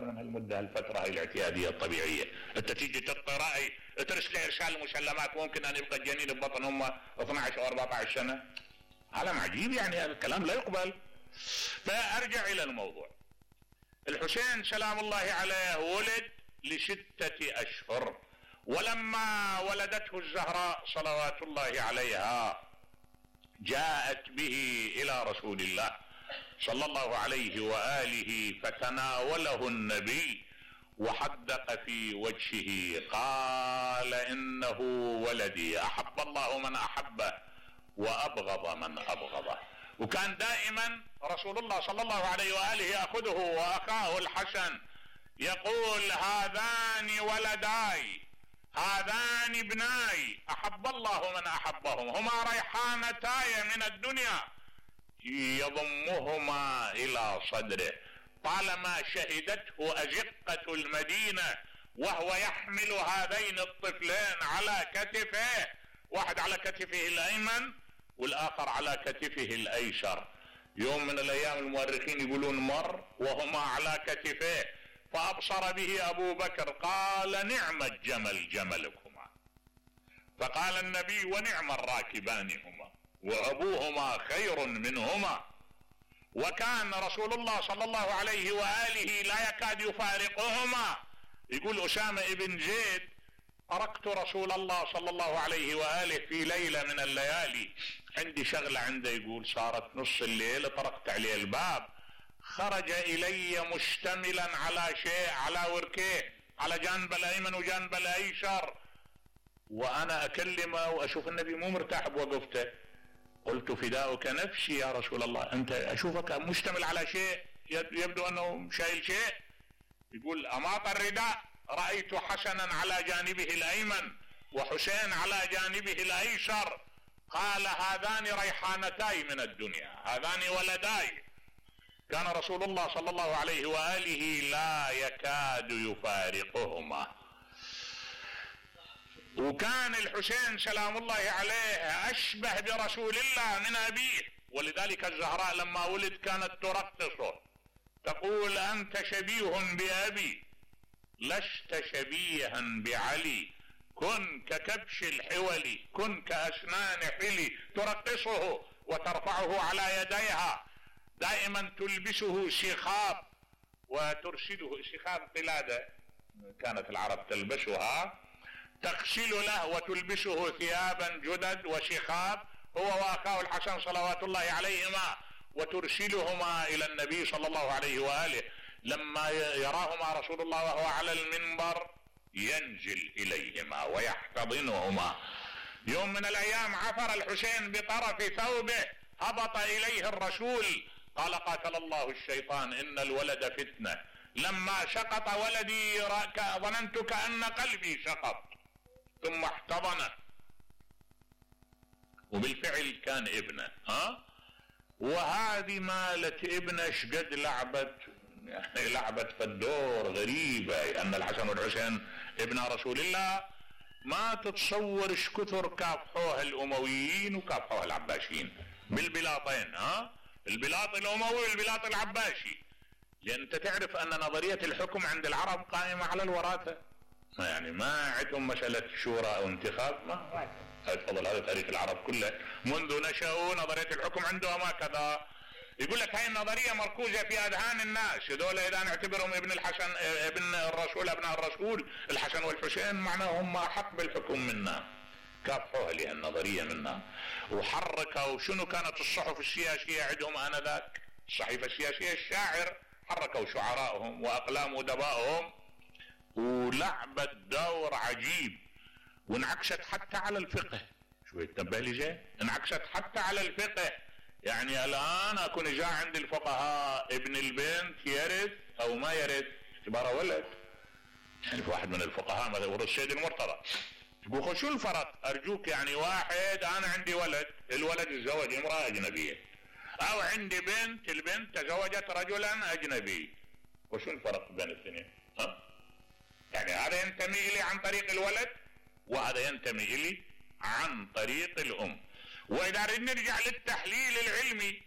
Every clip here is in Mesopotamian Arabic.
من هالمدة هالفترة هاي الاعتيادية الطبيعية. انت تيجي تعطي رأي ترسل ارسال مسلمات ممكن ان يبقى الجنين ببطن امه 12 او 14 سنة. عالم عجيب يعني، هذا الكلام لا يقبل. فارجع الى الموضوع. الحسين سلام الله عليه ولد ل6 اشهر، ولما ولدته الزهراء صلوات الله عليها جاءت به الى رسول الله صلى الله عليه وآله فتناوله النبي وحدق في وجهه قال انه ولدي احب الله من احبه وابغض من ابغضه. وكان دائما رسول الله صلى الله عليه وآله يأخذه واخاه الحسن يقول هذان ولداي هذان ابناي احب الله من احبهم هما ريحانتاي من الدنيا يضمهما الى صدره. طالما شهدته ازقة المدينة وهو يحمل هذين الطفلين على كتفه، واحد على كتفه الايمن والاخر على كتفه الايسر. يوم من الايام المؤرخين يقولون مر وهما على كتفه فابصر به ابو بكر قال نعم الجمل جملكما، فقال النبي ونعم الراكبان هما وابوهما خير منهما. وكان رسول الله صلى الله عليه وآله لا يكاد يفارقهما. يقول أسامة ابن زيد أرقت رسول الله صلى الله عليه وآله في ليلة من الليالي، عندي شغلة عنده، يقول صارت نص الليل طرقت عليه الباب خرج إلي مشتملا على شيء على وركيه على جانب الأيمن وجانب الأيسر، وأنا أكلمه وأشوف النبي مو مرتاح بوقفته. قلت فداؤك نفسي يا رسول الله، أنت أشوفك مشتمل على شيء يبدو أنه شايل شيء. يقول أماط الرداء رأيت حسنا على جانبه الأيمن وحسين على جانبه الأيسر. قال هذان ريحانتاي من الدنيا هذان ولداي. كان رسول الله صلى الله عليه وآله لا يكاد يفارقهما. وكان الحسين سلام الله عليه أشبه برسول الله من أبيه، ولذلك الزهراء لما ولد كانت ترقصه تقول أنت شبيه بأبي لست شبيها بعلي كن ككبش الحولي كن كأسنان حلي. ترقصه وترفعه على يديها، دائما تلبسه سخاب وترسله سخاب قلادة كانت العرب تلبسها، تغسل له وتلبسه ثيابا جدد وشخاب هو واخاه الحسن صلوات الله عليهما، وترسلهما الى النبي صلى الله عليه وآله. لما يراهما رسول الله وهو على المنبر ينزل اليهما ويحتضنهما. يوم من الايام عثر الحسين بطرف ثوبه هبط اليه الرسول قال قاتل الله الشيطان ان الولد فتنة، لما سقط ولدي ظننت كأن قلبي سقط ثم احتضنه. وبالفعل كان ابنه. وهذه مالت ابنه شقد لعبت، يعني لعبت في الدور غريبة، ان الحسن والحسين ابن رسول الله ما تتصور ايش كثر كافحوها الامويين وكافحوها العباسيين بالبلاطين، البلاط الاموي والبلاط العباسي. لان انت تعرف ان نظرية الحكم عند العرب قائمة على الوراثة، يعني ما عندهم مسألة شورى او انتخاب، ما تفضل هذا تاريخ العرب كله منذ نشأوا نظرية الحكم عندهم هكذا. يقول لك هاي النظرية مركوزة في اذهان الناس، هذول اذا نعتبرهم ابن الحسن ابن الرسول ابناء الرسول الحسن والحسين معناهم احق بالحكم منا. كافحوها لها النظرية منا وحركوا. شنو كانت الصحف السياسية عندهم انذاك؟ الصحيفة السياسية الشاعر حركوا شعراءهم واقلام ادبائهم ولعبت دور عجيب، وانعكست حتى على الفقه. شوي تنبه لي زين، انعكست حتى على الفقه. يعني الان اكون جاء عند الفقهاء ابن البنت يرث او ما يرث اعتباره ولد. يعني في واحد من الفقهاء مثلا ورث السيد المرتضى تقول شو الفرق؟ ارجوك يعني واحد انا عندي ولد، الولد تزوج امرأة اجنبية، او عندي بنت البنت تزوجت رجلا اجنبي، وشو الفرق بين الاثنين؟ يعني هذا ينتمي الي عن طريق الولد وهذا ينتمي الي عن طريق الام. واذا نرجع للتحليل العلمي،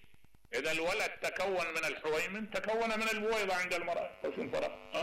اذا الولد تكون من الحويمن تكون من البويضة عند المرأة، وشو الفرق؟